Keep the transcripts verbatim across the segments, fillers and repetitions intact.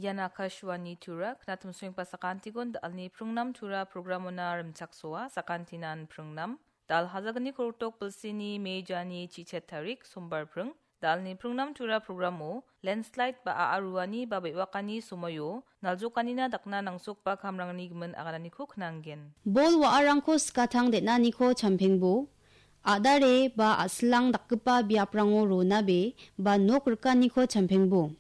Ian Akashvani Tura, knatim suing pasakantigon dalni pringnam Tura programona rimchaksoa, sakantinan pringnam. Dal hazaganni korotok bilsini mejani chichet tarik sombar pring. Dalni pringnam Tura programo landslide ba a·a ruani ba be·wakani somoio naljokanina dakna nangsokba kamrangni gimin agananiko knanggen. Bol wa·arangko skatang den·aniko champengbo, a·dare ba a·silang dakgipa biaprango ronabe ba nok rikaniko champengbo.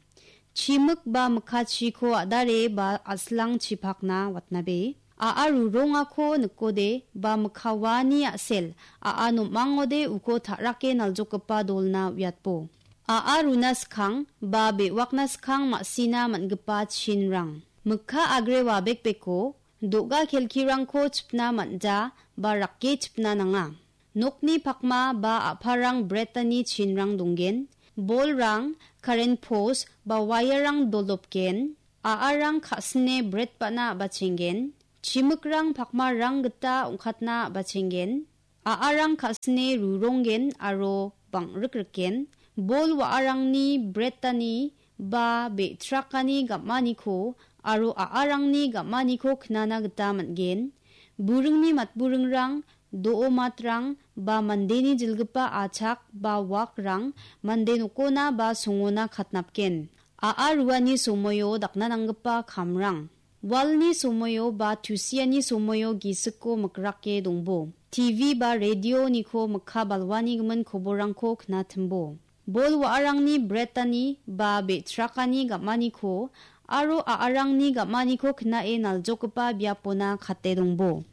Chimik ba mikkachiko a·dare ba a·silang chipakna watnabe. A·a rurongako nikode ba mikka waani a·sel a·a nom·angode uko ta·rake naljokgipa dolna uiatbo. A·a runa skang ba be·wakna skang ma·sina man·gipa chinrang. Mikka agre wabekbeko do·ga kelkirangko chipna man·ja ba rake chipna nanga. Nokni pakma ba a·parang bretani chinrang donggen. Bolrang, karen pos ba wairang dolopgen. A·arang ka·sine bret ba·na a·bachenggen. Chimikrang pakmarang gita ong·katna a·bachenggen. A·arang ka·sine ruronggen aro bang·rikrikgen. Bol wa·arangni bretani ba be·trakani gam·aniko aro a·arangni gam·aniko knana gita man·gen. Buringni matburingrang, do·o matrang ba mandeni jilgipa achak ba wakrang mande nokona ba songona katnapgen. A·a ruani somoio dakna nanggipa kamrang. Walni somoio ba tusiani somoio gisiko mikrake dongbo. T V ba radioniko mikka balwani gimin koborangko knatimbo. Bol wa·arangni bretani ba be·trakani gam·aniko aro a·arangni gam·aniko knae naljokgipa biapona kate dongbo.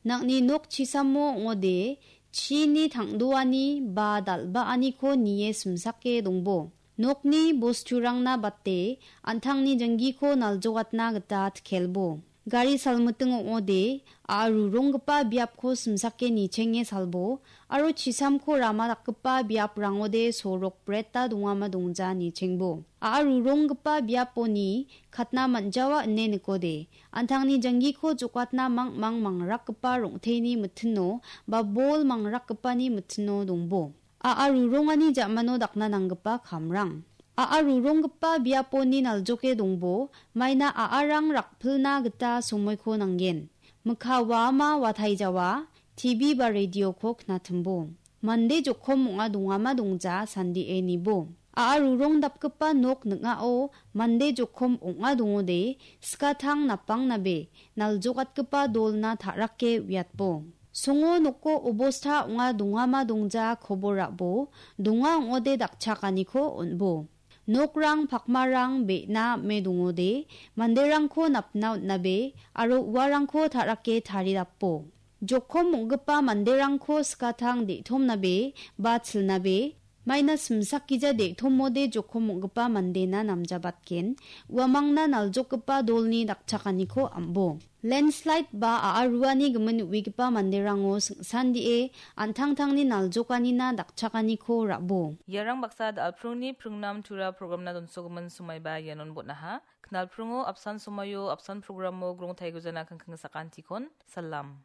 Nang·ni nok chisamo ong·ode chini tang·doani ba dal·baaniko nie simsake dongbo. Nokni bosturangna bate an·tangni janggiko naljokatna gita tkelbo. Gari salmiting ong·ode, a·a ruronggipa biapko simsake nichenge salbo, aro chisamko rama dakgipa biaprangode sorok breta dongama dongja nichengbo. A·a ruronggipa biaponi katna man·jawa ine nikode, an·tangni janggiko jokatna mangmang mangrakgipa rong·teni mitino ba bol mangrakgipani mitino dongbo. A·a rurongani ja·mano dakna nanggipa kamrang. A·a ruronggipa biaponi naljoke dongbo, maina a·arang rakpilna gita somoiko nanggen. Mikka waama wataijawa, T V ba radioko knatimbo. Mande jokom ong·a dongama dongja sandie nibo. A·a rurong dapgipa nok ning·ao mande jokom ong·a dongode, skatang napangnabe, naljokatgipa dolna ta·rake uiatbo. Songo noko obosta ong·a dongama dongja kobor ra·bo, donga ong·ode dakchakaniko on·bo. Nokrang pakmarang be·na ame dongode, manderangko napna on·nabe aro uarangko ta·rake taridapo. Jokom ong·gipa manderangko skatang de·tomnabe ba chilnabe, maina simsakgija de·tomode jokom ong·gipa mandena namjabatgen, uamangna naljokgipa dolni dakchakaniko am·bo. Landslide ba a·a ruani gimin uigipa manderango sing·sandie an·tangtangni naljokanina dakchakaniko ra·bo. Iarang baksa dal·prongni pringnam tura programna donsogimin somaiba ianon bon·aha. Knalpringo apsan somaio apsan programo grong taigujana kangkang sakantikon. Salam.